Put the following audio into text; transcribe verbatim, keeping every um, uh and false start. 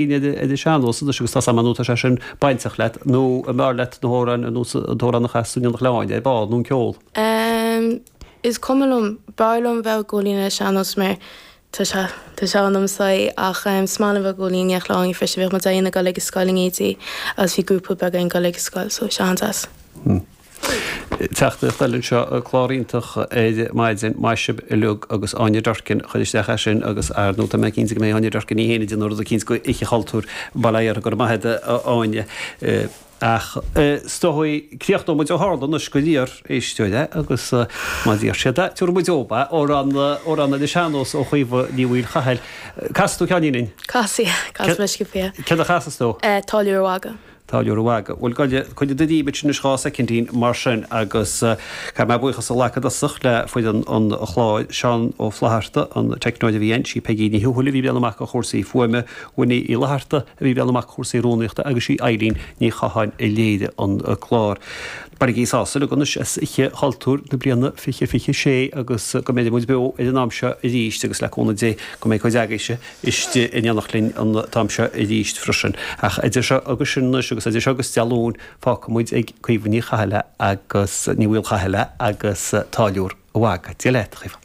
ar an sean-nós anois agus tá sam nó tá sé sin bainteach leat nó an mb'fhearr leat na hamhráin nó an t-amhrán a chas tú in Aonach Leáin ar ball nó an ceol? Um, is cuma liom b'fhearr liom bheith ag gabháil fhoinn ar an sean-nós mar tá sé tá sé ionamsa ach um, is maith liom bheith ag gabháil fhoinn in Aonach Leáin freisin bhíodh muid ag dul ag an scoil in éindí agus bhí grúpa beag ag dul ag an scoil so sé an-deas. Hmm. Teachtaireacht eile anseo clár iontach ar maidin maith sibh uilig agus Áine Durkin chuir isteach é sin agus ar ndóigh tá mé cinnte go mbeidh Áine Durkin í féin ag déanamh rud eicínt go Oíche Chultúir Baile Átha go raibh maith agat a Áine. Ach is dóigh críochnóidh muid ó tharla anois gur iarr éisteoir é agus má d'iarr siad é tabharfaidh muid dóibh é amhrán amhrán ar an sean-nós ó Chaoimhe Ní Mhaolchathail. Casfaidh tú ceainnín dúinn? Casfaidh, casfaidh mé sciobtha. Céard a chasfas tú? Táilliúir an Mhagaidh. Táilliúir an Mhagaidh. Bhuel gabh coinnigh do dhíbit anois dhá soicindín mar sin agus caithfidh mé buíochas a ghlacadh i dtosach le foireann an chláir, Seán Ó Flatharta, an teicneoir a bhí ann, sí Peigí Ní Thuathail a bhí ag breathnú amach do chúrsaí fuaime, Winnie Uí Fhlatharta a bhí ag breathnú amach do chúrsaí rúnaíochta agus sí Eileen Ní Chatháin a léirigh an clár. Bainigí sásamh uilig anois as Oíche Chultúir na bliana fiche fiche sé agus go mbeidh muid beo ar an am seo arís agus le cúnamh Dé go mbeidh cuid agaibhse istigh in éineacht linn an t-am seo arís freisin. Ach idir seo agus sin anois agus idir seo agus Dé Luain fágfaidh muid ag Caoimhe Ní Chathail agus Ní Mhaolchathail agus Táilliúir an Mhagaidh. Dia leat, a Chaoimhe.